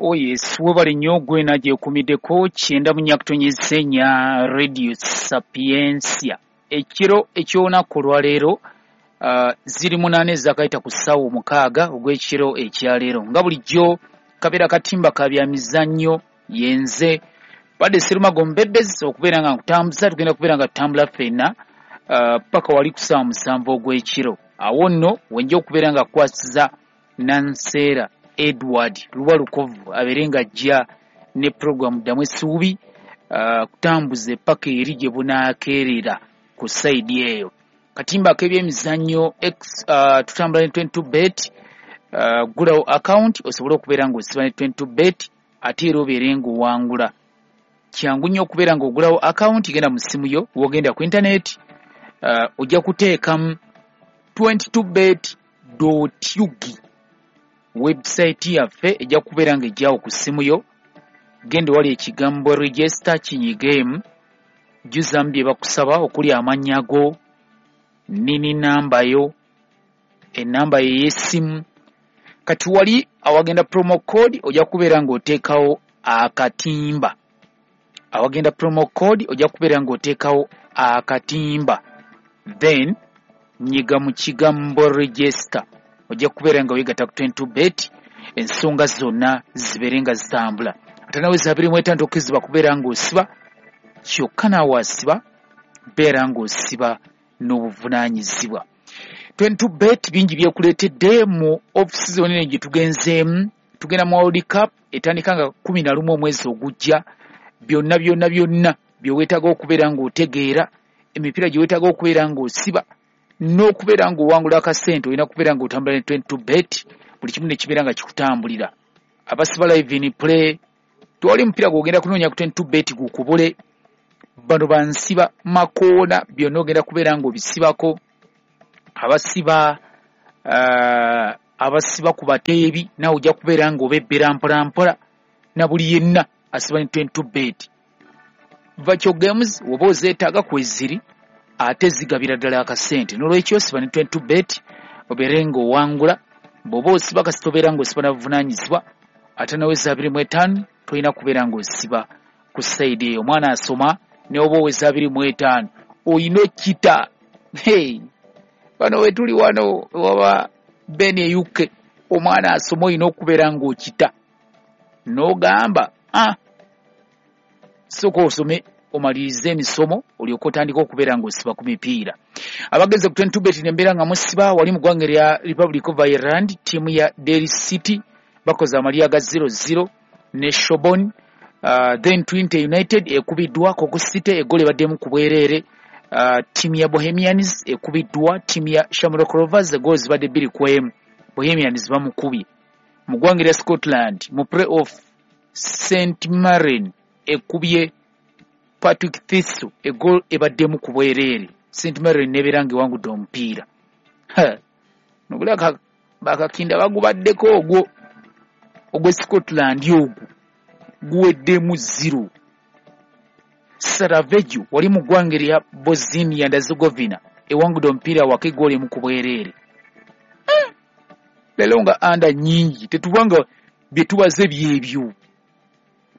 Oh yes, webale nnyo gwena gyekumiddeko 94.4 Radio Sapientia. Ekiro eky'olunaku olwaleero ziri 8 ezakayita ku ssaawa 6 ogw'ekiro ekyaleero. Nga bulijjo kabeera katimba ka bya mizannyo yenze badde Serumago Mbebezi okubeera nga nkutambuza, tugenda kubeera nga tutambula ffenna paka wali ku ssaawa 7 ogw'ekiro. Awo nno wenja okubeera nga kukwasiza Nanseera Edward Luba Lukovu abeere nga ajja ne puroguramu Ddamu Essuubi kutambuza paka eri gye bunaakeerera ku sayidi eyo. Katimba ak'ebyemizannyo tutambula ne 22 bet, ggulawo account osobole okubeera ng'osiba ne 22 bet ate era obeere ng'owangula. Kyangu nnyo okubeera ng'ogulawo account, genda mu ssimu yo, w'ogenda ku internet, ojja kuteekamu 22bet.ug. Website yaffe ejja kubeera ng'ejjawo ku ssimu yo. Genda wali ekigambo register kinyigeemu, jjuzaamu bye bakusaba okuli amannya go, nini namba yo, ennamba yo ey'essimu. Kati wali awagenda promo code ojja kubeera ng'oteekawo akatimba. Awagenda promo code ojja kubeera ng'oteekawo akatimba. Then nyiga mu kigambo register. Ojja kubeera nga weegatta ku 22 bet, ensonga zonna zibeere nga zitambula. Ate nawe za 25 tokkirizibwa kubeera ng'osiba, kyokka naawe asiba beera ng'osiba n'obuvunaanyizibwa. 22 bet bingi byekuleetedde mu ofisi zonna gye tugenzeemu. Tugenda mu World Cup etandika nga 11 omwezi ogujja. Byonna byonna byonna bye weetaaga okubeera ng'otegeera, emipiira gye weetaaga okubeera ng'osiba n'okubeera ng'owangula akasente, olina kubeera ng'otambula ne 22 bet, buli kimu ne kibeera nga kikutambulira. Abasiba live in play, tewali mupiira gw'ogenda kunoonya ku 22 bet gukubule. Bano bansiba makoona, byonna ogenda kubeera ng'obisibako. Abasiba abasiba ku bateebi naawe ojja kubeera ng'obebbera mpola mpola, na buli yenna asiba ne 22 bet. Virtual games oba ozeetaaga kweziri, ate zigabira ddala akasente. N'olwekyo siba ne 22 bet obeere ng'owangula. Bw'oba osiba kasita obeera ng'osiba na buvunaanyizibwa, ate nawe za 25 tolina kubeera ng'osiba ku sayidi eyo. Omwana asoma ne oba oweza 25 olina okita. Hey, bano we tuli wano waba Ben e UK, omwana asoma olina okubeera ng'okita. N'ogamba sooka osome omalirize emisomo olyoke otandike okubeera ng'osiba ku mipiira. Abagenze ku 22 bet nembeera nga musiba wali mu ggwanga erya Republic of Ireland, ttiimu ya Derry City bakoze amalya ga 0-0 ne Shobon. Then Twente United ekubiddwa Cork City eggolo ebaddemu ku bwereere. Ttiimu ya Bohemians ekubiddwa ttiimu ya Shamrock Rovers, eggolo zibadde 2-1. Bohemians bamukubye. Mu ggwanga erya Scotland mu play-off, St Mirren ekubye Patrick Thistle eggolo ebaddemu ku bwereere. St Mirren nebeera ng'ewangudde omupiira. Nobula bakakinda bagubaddeko ogwo ogw'e Scotland ogwo guweddemu 0. Sarajevo wali mu ggwanga erya Bosnia and Herzegovina ewangudde omupiira waka eggolo emu ku bwereere. Leero nga anda nnyingi tetubanga bye tubaze byebyo.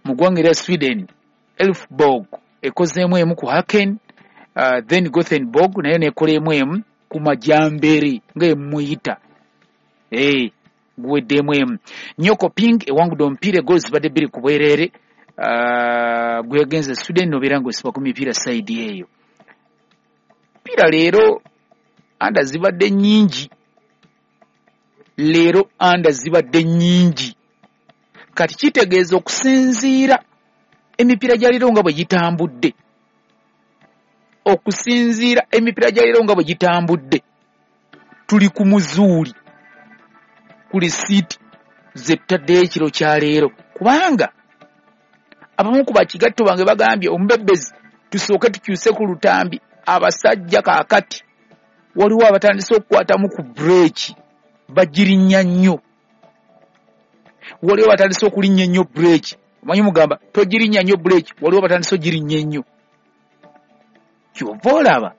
Mu ggwanga erya Sweden, Elfsborg ekozeemu emu ku Haken, then Gothenburg nayo nekola emu ku Majambere nga emuyita. Guweddemu emu. Nyokoping ewangudde omupiira eggolo zibadde 2 ku bwereere. Gwegenze Sweden n'obeera ng'osiba ku mipiira sayidi eyo. Mipiira leero anda zibadde nnyingi. Leero anda zibadde nnyingi. Kati kitegeeza okusinziira emipiira gya leero nga bwe gitambudde. Okusinziira emipiira gya leero nga bwe gitambudde, tuli ku muzuuli ku lisiiti ze tutaddeyo ekiro kya leero, kubanga abamu ku bakigatto bange bagambye omubebbezi tusooke tukyuse ku lutambi. Abasajja kaakati waliwo abatandise okukwatamu ku bureeki bagirinnya nnyo, waliwo abatandise okulinnya ennyo bureeki. Omanyi mugamba togirinnya nnyo bureeki, waliwo abatandise ogirinnya ennyo. Kyova olaba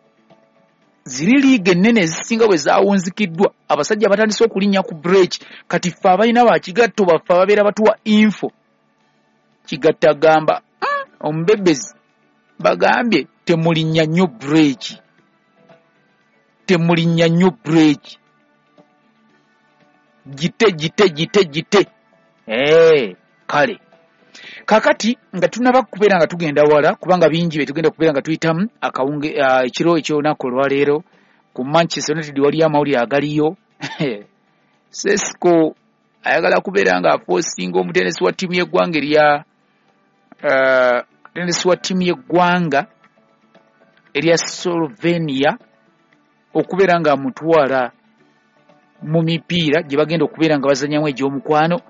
Ziri liiga ennene ezisinga bwe zaawunzikiddwa, abasajja batandise okulinnya ku break. Kati ffe abalina bakigatto baffe ababeera batuwa info, Kigatta agamba omubebezi bagambye temulinnya nnyo break, temulinnya nnyo break, gite gite gite gite. Kale kakati nga tunaba kubeera nga tugenda wala, kubanga bingi bye tugenda kubeera nga tuyitamu akawunge ekiro eky'olunaku olwaleero. Ku Manchester United waliyo amawulire agaliyo. Sesko ayagala kubeera nga aforcinga omutendesi wa ttiimu y'eggwanga erya mutendesi wa ttiimu y'eggwanga erya Slovenia okubeera nga amutwala mu mipiira gye bagenda okubeera nga bazannyamu egy'omukwano.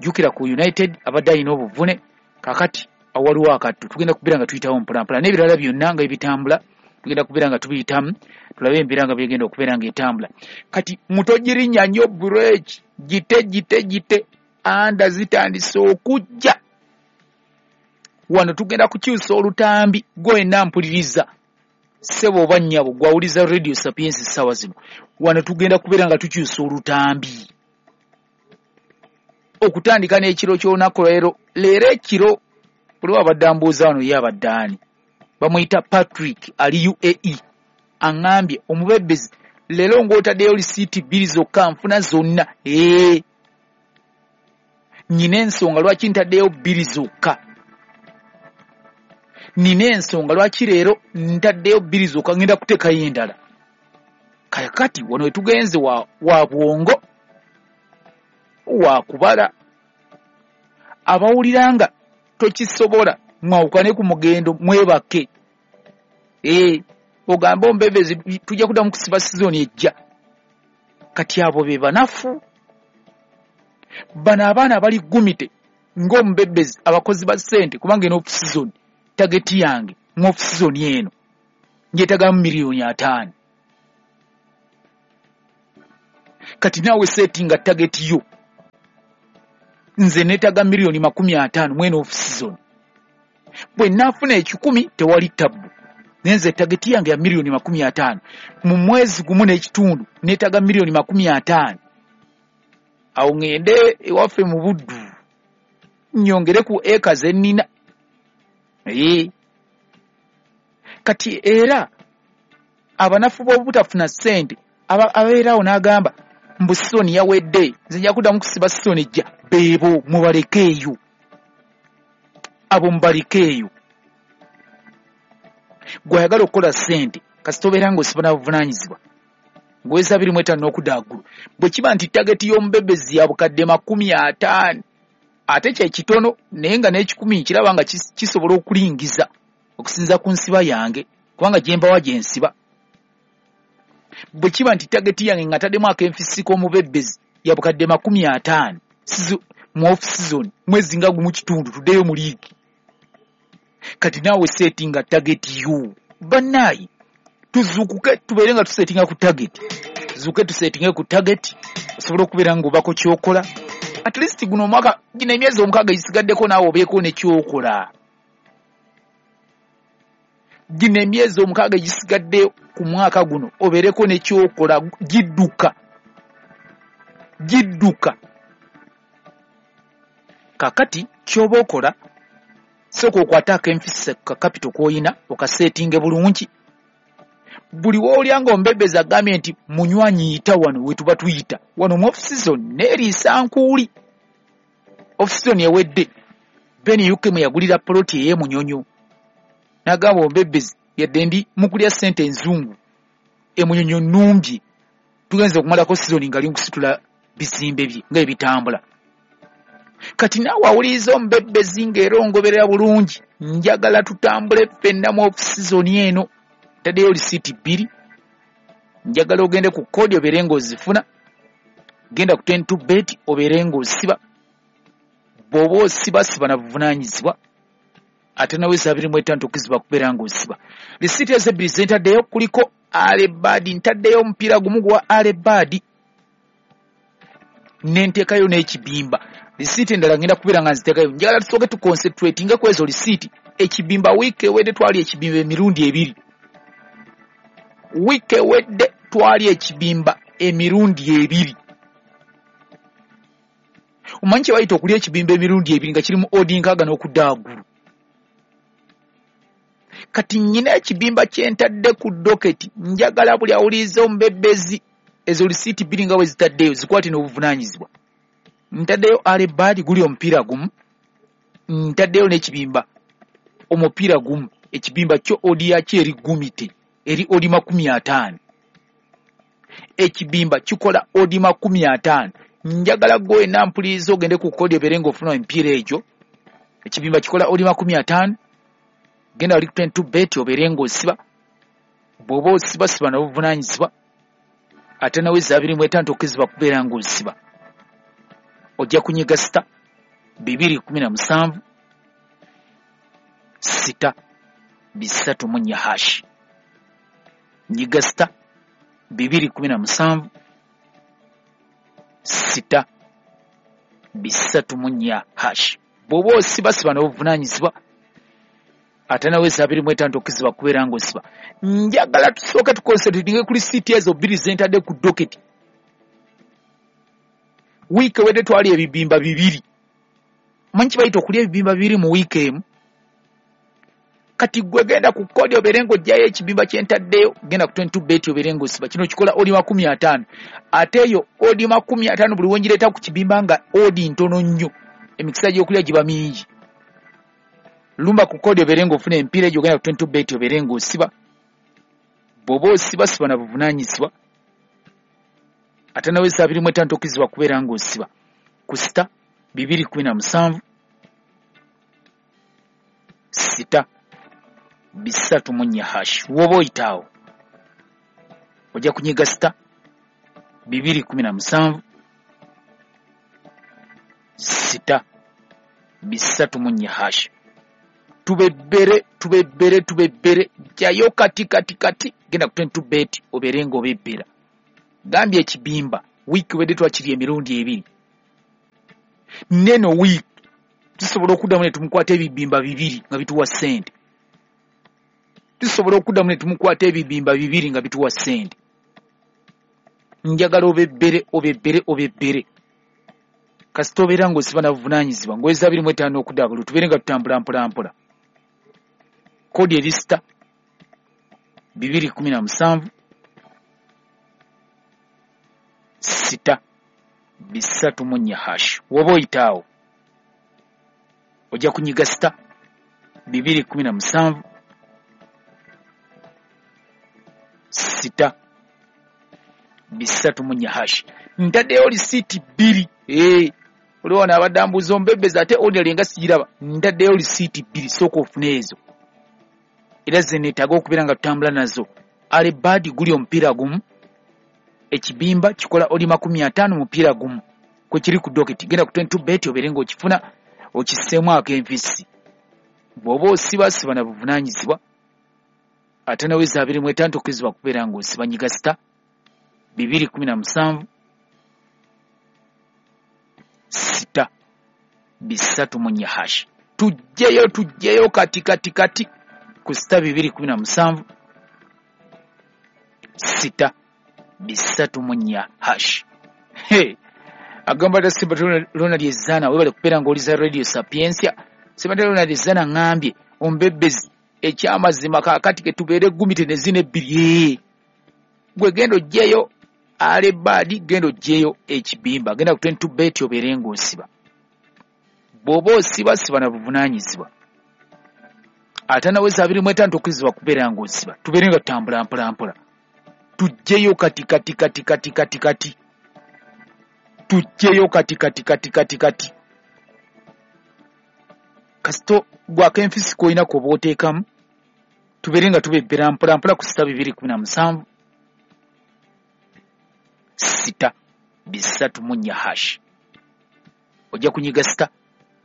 Jjukira ku United abadde alina obuvune, kakati awaliwo akattu. Tugenda kubeera nga tuyitawo mpolampola n'ebirala byonna nga ebitambula, tugenda kubeera nga tubiyitamu, tulabe embeera nga byegenda okubeera nga etambula. Kati mutogirinnya nnyo break, gite gite gite, anda zitandise okujja. Wano tugenda kukyusa olutambi. Gwe wenna mpuliriza, ssebo oba nnyabo, gwawuliza Radio Sapiens essaawa zino, wano tugenda kubeera nga tukyusa olutambi okutandika n'ekiro ky'olunaku leero. Leero ekiro buli abadde ambuuza wano ye abadde ani, bamuyita Patrick, ali UAE, aŋŋambye omubebezi leero ng'otaddeyo lisiiti 2 zokka nfuna zonna. Nnyina ensonga lwaki ntaddeyo 2 zokka, nina ensonga lwaki leero ntaddeyo 2 zokka, ngenda kuteekayo endala. Kakati wano we tugenze wa bwongo wa kubala. Abawulira nga tokisobola mwawukane ku mugendo mwebake. Ogambe ombebezi tujja kuddamu kusiba sizoni ejja. Kati abo be banafu. Bano abaana abali gumite ng'omubebezi, abakozi ba ssente, kubanga eno off season target yange mu off season eno njeetagamu 5 million. Kati naawe settinga target yo. Nze neetaaga 50 million mweno off season. Bwe naafuna 100 tewali tabbu, naye nze target yange ya 50 million mu mwezi gumu n'ekitundu. Neetaaga 50 million, awo ŋŋende ewaffe mu Buddu nnyongere ku eka ze nnina. Kati era abanafu b'obutafuna ssente abeeraawo n'agamba mbu sizoni yawedde, nze nja kuddamu kusiba sizoni ejja, beebo mubalekeeyo, abo mubalekeeyo. Gw'ayagala okukola ssente, kasita obeera ng'osiba na buvunaanyizibwa ng'oweza 25 n'okudda waggulu. Bwe kiba nti target y'omubebezi ya bukadde 50, ate kye kitono, naye nga n'ekikumi nkiraba nga kisobola okulingiza okusinziira ku nsiba yange, kubanga gye mbawa gye nsiba. Bwe kiba nti target yange nga ntaddemu akenfisi k'omubebezi ya bukadde 50 mu off season, mwezi nga gumu kitundu tuddeyo mu liigi. Kati naawe settinga target yo. Bannaayi, tuzuukuke tubeere nga tusettinga ku target, tuzuukuke tusettinge ku target, osobole okubeera ng'obako ky'okola at least guno omwaka, gino emyezi 6 egisigaddeko, naawe obeeko ne ky'okola. Gino emyezi 6 egisigadde ku mwaka guno obeereko ne ky'okola. Gidduka gidduka. Kakati ky'oba okola, sooka okwate akenfisa ka capital k'oyina, okasettinge bulungi. Buli woolya ng'ombebezi agambye nti munywanyi yita wano, we tuba tuyita wano mu off season neeriisa nkuuli. Off season ewedde Ben UK mwe yagulira poloti ey'emunyonyo, n'agamba ombebezi yadde ndi mukulya ssente enzungu, emunyonyo nnumbye. Tugenze okumalako season nga ali nkusitula bizimbe bye nga ebitambula. Kati naawe awuliriza omubebezi ng'era ongoberera bulungi, njagala tutambule ffenna mu off season eno. Ntaddeyo lisiiti 2, njagala ogende ku code obeere ng'ozifuna. Genda ku 10 bet obeere ng'osiba. Bw'oba osiba, siba na buvunaanyizibwa, ate naweza 25 tokkizibwa kubeera ng'osiba. Lisiiti ezo ebbiri ze ntaddeyo kuliko alebad, ntaddeyo omupiira gumu gwa alebad, nenteekayo n'ekibimba. Lisiiti endala ngenda kubeera nga nziteekayo. Njagala tusooke tuconcentratinge ku ezo lisiiti. Ekibimba, wiiki ewedde twali ekibimba emirundi ebiri. Wiiki ewedde twali ekibimba emirundi ebiri. Omanyi kye bayita okulya ekibimba emirundi ebiri nga kirimu odi nkaaga n'okudda waggulu? Kati nnyina ekibimba kye ntadde ku doketi, njagala buli awuliriza omubebbezi ezo lisiiti bbiri nga bwe zitaddeyo zikwate n'obuvunaanyizibwa. Ntaddeyo alebaadi guli omupiira gumu, ntaddeyo n'ekibimba omupiira gumu. Ekibimba kyo odi yakyo eri gumite, eri odi 50. Ekibimba kikola odi 50. Njagala gwe wenna mpuliriza ogende ku kodi obeere ng'ofuna emipiira egyo. Ekibimba kikola odi 50. Genda wali ku 22 bet obeere ng'osiba. Bw'oba osiba siba n'obuvunaanyizibwa, ate nawe eza 25 tokkirizibwa kubeera ng'osiba. Ojja kunyiga sita 217 6 304 hash. Nyiga sita 217 6 304 hash. Bw'oba osiba siba n'obuvunaanyizibwa, ate nawe eza 25 tokkirizibwa kubeera ng'osiba. Njagala tusooke tukonsentratinge ku lisiiti ezo bbiri ze ntadde ku doketi. Wiiki ewedde twali ebibimba bibiri. Omanyi kye bayita okulya ebibimba bibiri mu wiiki emu? Kati gwe genda ku kodi obeere ng'oggyayo ekibimba kye ntaddeyo, genda ku 22 bet obeere ng'osiba. Kino kikola odi 50. Ate eyo odi 50 buli wengireeta ku kibimba nga odi ntono nnyo, emikisa gy'okulya giba mingi. Lumba ku kodi obeere ng'ofuna emipiira egyo, genda ku 22 bet obeere ng'osiba. Bw'oba osiba siba na buvunaanyizibwa, ate nawe eza 25 tokkirizibwa kubeera ng'osiba. Ku sita 217 6 304 hash. Woba oyitaawo ojja kunyiga sita 217 6 304 hash. Tubebbere tubebbere tubebbere, jjayo kati kati kati, genda ku 22 bet obeere ng'obebbera. Gambye ekibimba wiiki wedde twakirya emirundi ebiri. Neno wiiki tusobola okuddamu ne tumukwata ebibimba bibiri nga bituwa ssente. Tusobola okuddamu ne tumukwata ebibimba bibiri nga bituwa ssente. Njagala obebbere obebbere obebbere. Kasita obeera ng'osiba na buvunaanyizibwa ng'oweza 25 okudda waggulu, tubeere nga tutambula mpola mpola. Kodi eri sita 217 6 304 hash. Woba oyitaawo ojja kunyiga sita 217 6 304 hash. Ntaddeyo lisiiti bbiri. Oliwo wano abadde ambuuza omubebbezi ate odi alinga sigiraba. Ntaddeyo lisiiti bbiri, sooka ofune ezo, era ze neetaaga okubeera nga tutambula nazo. Alebaadi guli omupiira gumu, ekibimba kikola odi 50 mupiira gumu kwe kiri ku doketi. Genda ku 22 bet obeere ng'okifuna okisseemu ak'enfisi. Bw'oba osiba siba na buvunaanyizibwa, ate nawe eza 25 tokkirizibwa kubeera ng'osiba. Nyiga sita 217 6 304 hash. Tujjeyo tujjeyo kati kati kati ku sita 217 6 304 hash. Hey, agamba ta Simba Ronald Ezana, webale kubeera ng'oliza Radio Sapientia. Simba Ronald Ezana ngambye ombebbezi ekyamazima kaakati ke tubeere gumite ne zino ebbiri. Gwe genda oggyeyo alebaadi, genda oggyeyo ekibimba, genda ku 22 bet obeere ng'osiba. Bw'oba osiba siba na buvunaanyizibwa, ate nawe eza 25 tokkirizibwa kubeera ng'osiba. Tubeere nga tutambula mpola mpola. Tujjeyo kati kati kati kati kati kati. Tujjeyo kati kati kati kati kati. Kasito gwako enfisi k'olina k'oba oteekamu, tubeere nga tubebbera mpola mpola ku sita 217 6 304 hash. Ojja kunyiga sita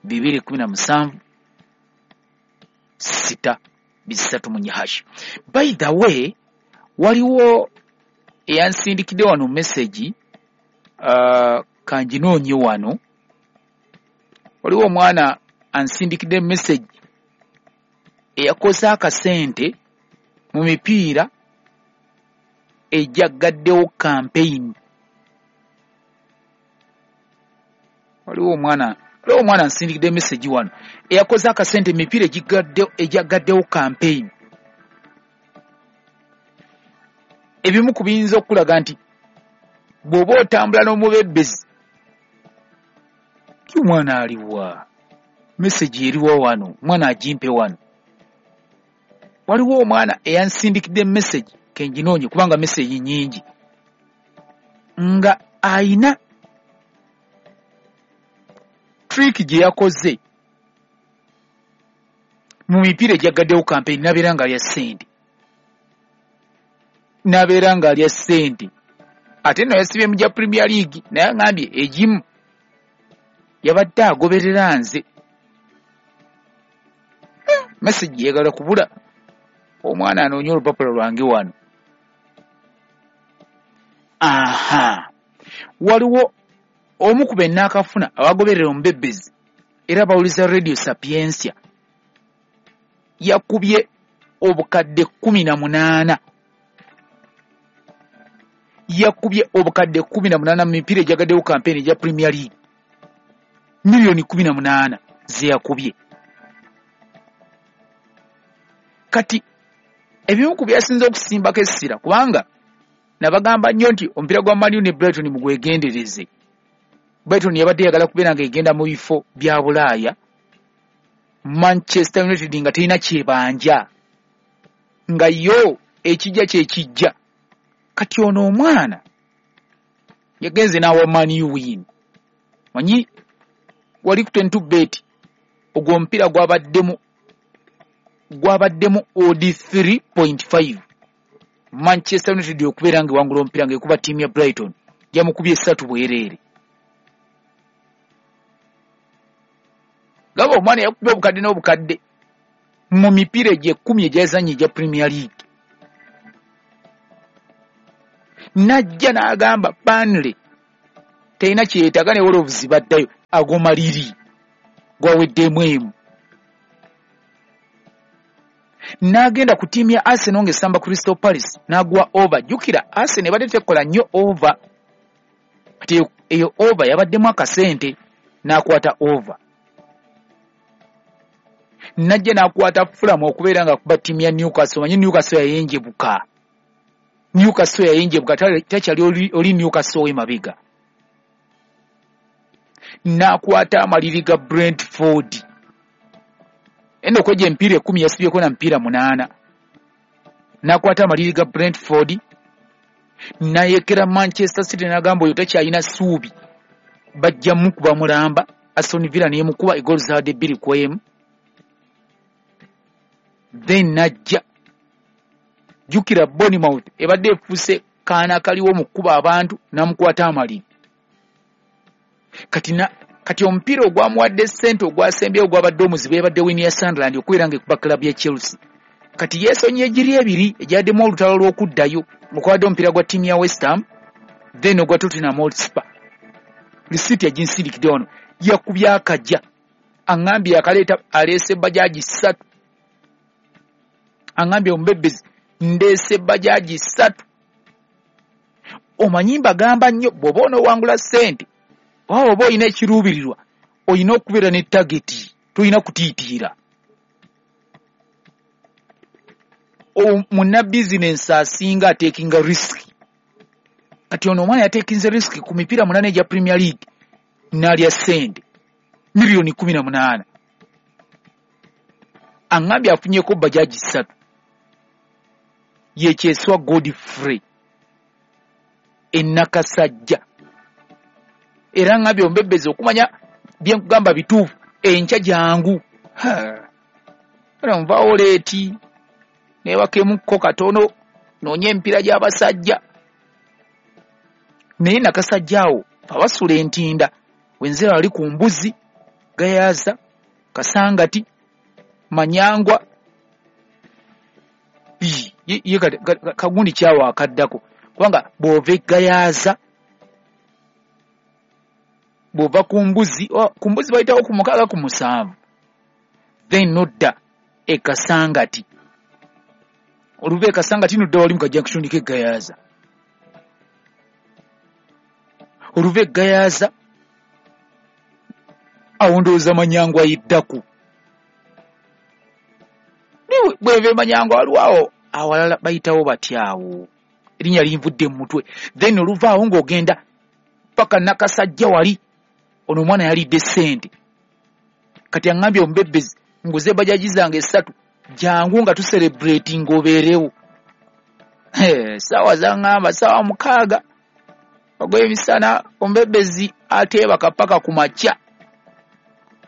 217 6 304 hash. By the way, waliwo eyansindikidde wano message, kanjinoonye wano. Waliwo omwana ansindikidde message eyakoze akasente mu mipiira ejaggaddewo campaign. Waliwo omwana nsindikidde message wano eyakoze akasente emipiira ejaggaddewo campaign. Ebimu ku biyinza okulaga nti bw'oba otambula n'omubebbezi, ki omwana aliwa? Message eriwa wano, omwana agimpe wano. Waliwo omwana eyansindikidde message, kenjinoonye kubanga message nnyingi, nga ayina trick gye yakoze mu mipiira ejaggaddewo campaign n'abeera ng'alya ssente. N'abeera ng'alya ssente. Ate nno yasibye mu gya Premier League, naye aŋŋambye egimu yabadde agoberera nze. Message yeegala kubula. Omwana anoonya olupapula lwange wano. Aha. Waliwo omu ku be nnaakafuna abagoberera omubebbezi era bawuliza Radio Sapientia, yakubye obukadde 18. Yakubye obukadde 18 mu mipiira ejagaddewo campaign egya Premier League. Miliyoni 18 ze yakubye. Kati ebimu ku byasinze okusimbako essira, kubanga nabagamba nnyo nti omupiira gwa Man U ne Brighton mugwegendereze. Brighton yabadde eyagala kubeera ng'egenda mu bifo bya Bulaaya, Manchester United nga terina kyebanja, nga yo ekijja kyekijja. Kati ono omwana yagenze n'awa Man U win. Manyi wali ku 22 bet, ogwo omupiira gwabaddemu odd 3.5. Manchester United okubeera ng'ewangula omupiira ng'ekuba ttiimu ya Brighton, yamukubye 3 bwereere. Gaba omwana yakubye obukadde n'obukadde mu mipiira egyo 10 egyazannye egya Premier League. Najja n'agamba Burnley terina kye yeetaaga ne Wolves baddayo, ago maliri gwaweddemu emu. N'agenda ku ttiimu ya Arsenal ng'esamba Crystal Palace n'agwa over. Jjukira Arsenal ebadde tekola nnyo over, kati eyo over yabaddemu akasente, n'akwata over. Najja n'akwata Fulham okubeera ng'akuba ttiimu ya Newcastle. Manyi Newcastle yayenjebuka. Newcastle yayenjebuka, takyali oli Newcastle w'emabega. N'akwata amaliri ga Brentford. Eno kwegyo emipiira 10 yasibyeko na mipiira 8. N'akwata amaliri ga Brentford, n'ayekera Manchester City n'agamba oyo takyalina ssuubi, bajja mukuba mulamba. Aston Villa n'emukuba egoolo zaabadde 2-1. Then najja, jjukira Bournemouth ebadde efuuse kaana kaliwo mu kkuba abantu, n'amukwata amaliri. Kati omupiira ogwamuwadde ssente ogwasembyeyo ogwabadde omuzibu yabadde win ya Sunderland okubeera ng'ekuba club ya Chelsea. Kati yeesonye egiri ebiri egyaddemu olutalo lw'okuddayo, okwabadde omupiira gwa ttiimu ya West Ham then ogwa Tottenham Hotspur. Risiiti yaginsindikidde wano, yakubye akajja, aŋŋambye yakaleeta aleese bajaji 3. Aŋŋambye omubebbezi ndeese bajaji 3. Omanyi mbagamba nnyo bw'oba onoowangula ssente oba olina ekiruubirirwa, olina okubeera ne tageti, tolina kutiitiira. Munna bizinensi asinga ateekinga risk. Kati ono omwana yateekinze risk ku mipiira 8 egya Premier League n'alya ssente miliyoni 18. Aŋŋambye afunyeko bajaji 3. Ye Kyeswa Godfrey e Nakasajja. Era aŋŋambye omubebbezi okumanya bye nkugamba bituufu, enkya jangu. Era nvaawo leeti, neebakemukko katono, noonye emipiira gy'abasajja. Naye Nakasajja awo abasula entinda, wenzira wali ku Mbuzi, Gayaza, Kasangati, Manyangwa, ye kagundi kyawo akaddako, kubanga bw'ova e Gayaza, bw'ova ku Mbuzi, ku Mbuzi bayitawo ku 6 ku 7, then nodda e Kasangati. Oluva e Kasangati nodda wali mu ka junction k'e Gayaza. Oluva eGayaza awo ndowooza Manyangwa yiddaku. Bweva eManyangwa waliwo awo awalala bayitawo batyawo, erinnya linvudde mu mutwe. Then oluvaawo ng'ogenda paka Nakasajja wali. Ono omwana yalidde ssente. Kati aŋŋambye, "Omubebbezi, nguze bajaji zange esatu, jangu nga tucelebrating ng'obeerewo." Saawa zaŋŋamba saawa 6 ogw'emisana. Omubebbezi ateebaka paka ku makya.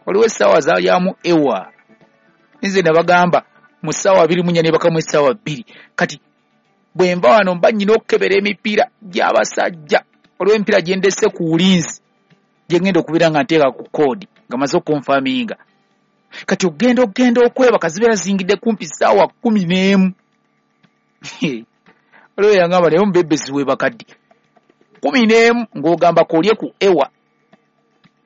Waliwo essaawa zalyamu ewa, nze nabagamba mu ssaawa 24 nebakamu essaawa 2. Kati bwe nva wano mba nnyina okukebera emipiira gy'abasajja. Waliwo emipiira gye ndese ku ulinzi gye ngenda okubeera nga nteeka ku code nga maze okuconfirminga. Kati ogenda okwebaka zibeera ziyingidde kumpi ssaawa 11. Waliwo yangamba, "Naye omubebbezi weebaka ddi?" 11 ng'ogamba koolye ku ewa.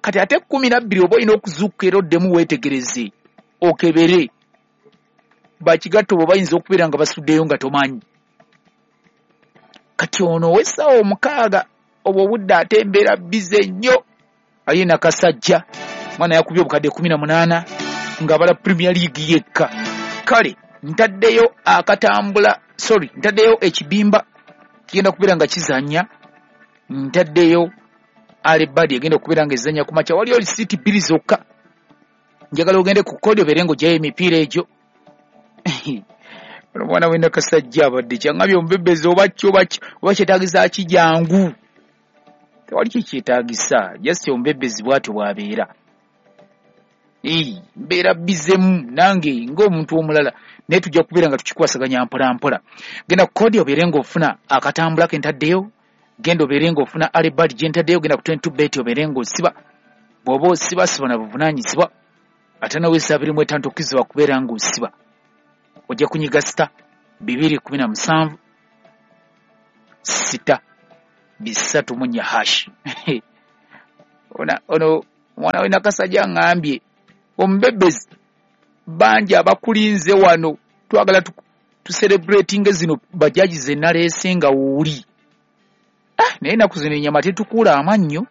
Kati ate 12 oba olina okuzuukuka era oddemu weetegereze okebere bakigatto bwe bayinza okubeera nga basuddeyo nga tomanyi. Kati ono ow'essaawa 6 obwo obudde ate embeera busy nnyo. Aye Nakasajja mwana yakubye obukadde 18 ng'abala Premier League yekka. Kale ntaddeyo akatambula, sorry, ntaddeyo ekibimba kigenda kubeera nga kizannya. Ntaddeyo alebadi egenda okubeera nga ezannya ku makya. Waliyo lisiiti bbiri zokka. Njagala ogende ku code obeere ng'ogyayo emipiira egyo. Omwana w'enakasajja abadde kyaŋŋambye, "Omubebbezi, oba ki oba ki oba kyetaagisa ki, jangu." Tewali kyekyetaagisa, just omubebbezi bw'atyo bw'abeera. Mbeera bizemu nange ng'omuntu omulala, naye tujja kubeera nga tukikwasaganya mpola mpola. Genda ku code obeere ng'ofuna akatambula ke ntaddeyo. Genda obeere ng'ofuna alebad gye ntaddeyo. Genda ku 22 bet obeere ng'osiba. Bw'oba osiba, siba na buvunaanyizibwa. Ate naweesa 25 tokkizibwa kubeera ng'osiba. Ojja kunyiga *217*334#. Ono omwana we Nakasajja aŋŋambye, "Omubebbezi, bangi abakulinze wano, twagala tucelebratinge zino bajaji ze naleese nga wuuli." Ah, naye ennaku zino ennyama tetukuula amannyo.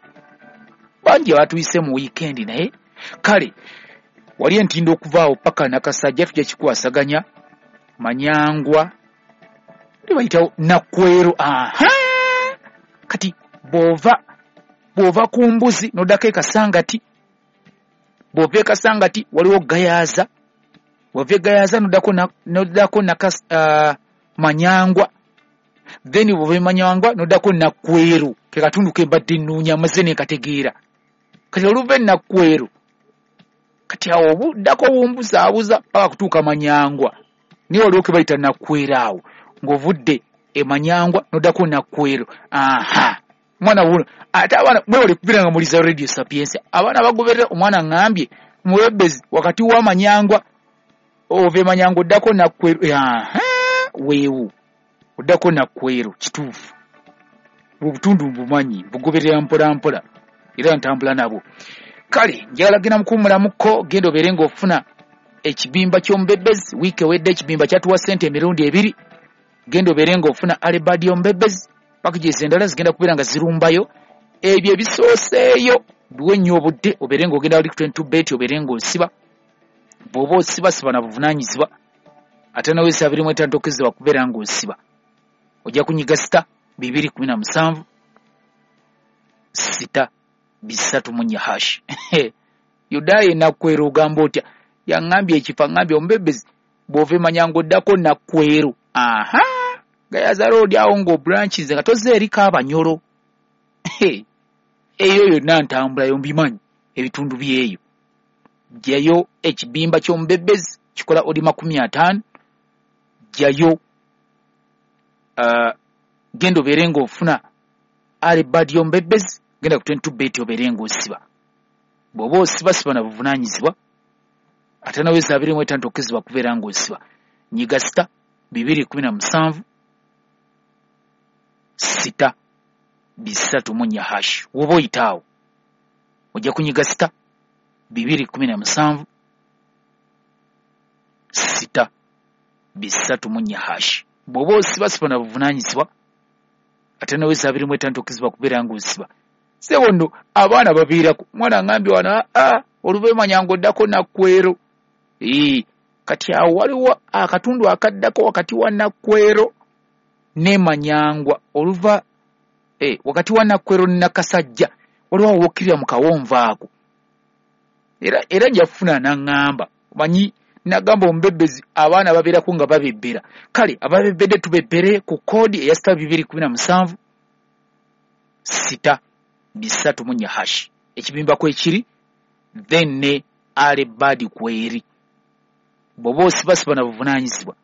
Bangi abatuyise mu wiikendi, naye kale wali entindo okuvaawo paka Nakasajja tujja kikwasaganya. Manyangwa bayitawo Nakwero. Aha, kati bw'ova ku mbuzi n'oddako eKasangati, bw'ova eKasangati waliwo Gayaza, bw'ova eGayaza n'oddako Manyangwa, then bw'ova eManyangwa n'oddako Nakwero, ke katundu ke mbadde nnoonya, maze ne nkategeera. Kati oluva eNakkwero, kati awo obuddako bumbuzaabuza paka kutuuka Manyangwa, naye waliwo ke bayita Nakwero awo ng'ovudde eManyangwa n'oddako Nakwero. Aha, mwana wuno ate abaana mwewale kubeera nga muliza Radio Sapientia. Abaana bagoberera omwana aŋŋambye, "Muwebbezi, wakati wa Manyangwa, ova eManyangwa oddako Nakwero." Aha, weewo oddako Nakwero, kituufu. Obutundu mbumanyi, mbugoberera mpola mpola era ntambula nabwo. Kale njagala genda mukuwummulamukko. Genda obeere ng'ofuna ekibimba ky'omubebbezi. Wiiki ewedde ekibimba kyatuwa ssente emirundi ebiri. Genda obeere ng'ofuna alebadi y'omubebbezi. Packages endala zigenda kubeera nga zirumbayo. Ebyo ebisooseeyo biwe nnyo obudde obeere ng'ogenda wali ku 22 bet obeere ng'osiba. Bw'oba osiba, siba na buvunaanyizibwa. Ate naweesa 25 tokkizibwa kubeera ng'osiba. Ojja kunyiga *217*334#. Yudaaya eNakkwero ogamba otya? Yaŋŋambye ekifo, aŋŋambye, "Omubebbezi, bw'ova eManyanga oddako Nakkwero." Aha, Gayaza Road awo ng'obranches nga tozze eriko Abanyolo. Eyo yonna ntambulayo, mbimanyi ebitundu byeyo. Jjayo ekibimba ky'omubebbezi kikola odi 50. Jjayo, genda obeere ng'ofuna alebad y'omubebbezi. Genda ku 22 bet obeere ng'osiba. Bw'oba osiba, siba na buvunaanyizibwa. Ate naweza 25 tokkizibwa kubeera ng'osiba. Nyiga *217*334#. Woba oyitaawo ojja kunyiga *217*334#. Bw'oba osiba, siba na buvunaanyizibwa. Ate naweza 25 tokkizibwa kubeera ng'osiba. Sebo nno abaana baviirako mwana ngambye wano oluva Manyangwa oddako Nakkwero. Kati awo waliwo akatundu akaddako wakati wa Nakkwero ne Manyangwa, oluva wakati wa Nakkwero ne Nakasajja waliwo awo wokkirira mu kawonvu ako. Era njafuna n'aŋŋamba, omanyi nagamba omubebbezi abaana babeerako nga babebbera. Kale ababebbedde tubebbere ku koodi eya *217 *334 hash, ekibimba kwekiri, then ne alebadi kweri. Bw'oba osibasiba na buvunaanyizibwa,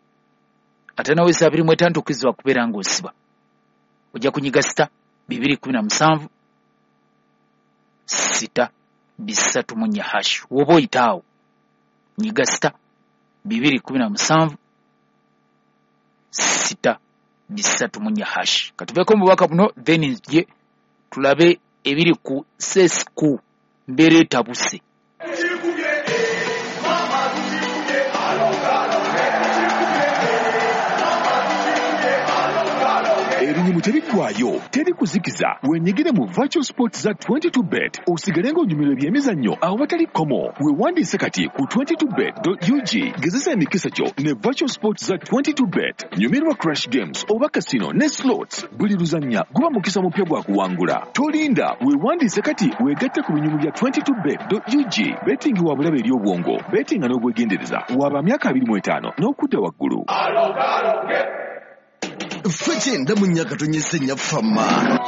ate nawe 25 tokkirizibwa kubeera ng'osiba. Ojja kunyiga *217 *334 hash. Woba oyitaawo nyiga *217 *334 hash. Katuveeko mu bubaka buno, then nzije tulabe ebiri ku sesku mbeera etabuse. Ebinyumu tebiggwayo, teri kuzikiza. Wenyigire mu virtual sports za 22bet osigale ng'onyumirwa ebyemizannyo awatali kkomo. Weewandiise kati ku 22bet.ug. Gezesa emikisa gyo ne virtual sports za 22bet. Nyumirwa crash games oba casino ne slots. Buli luzannya guba mukisa mupya gwa kuwangula. Tolinda, weewandiise kati weegatte ku binyumu bya 22bet.ug. Betting wa bulabe eri obwongo, bettinga n'obwegendereza. Waba myaka 25 n'okudda waggulu. Ffe kyenda mu nnya katonyese nnyaffe amma.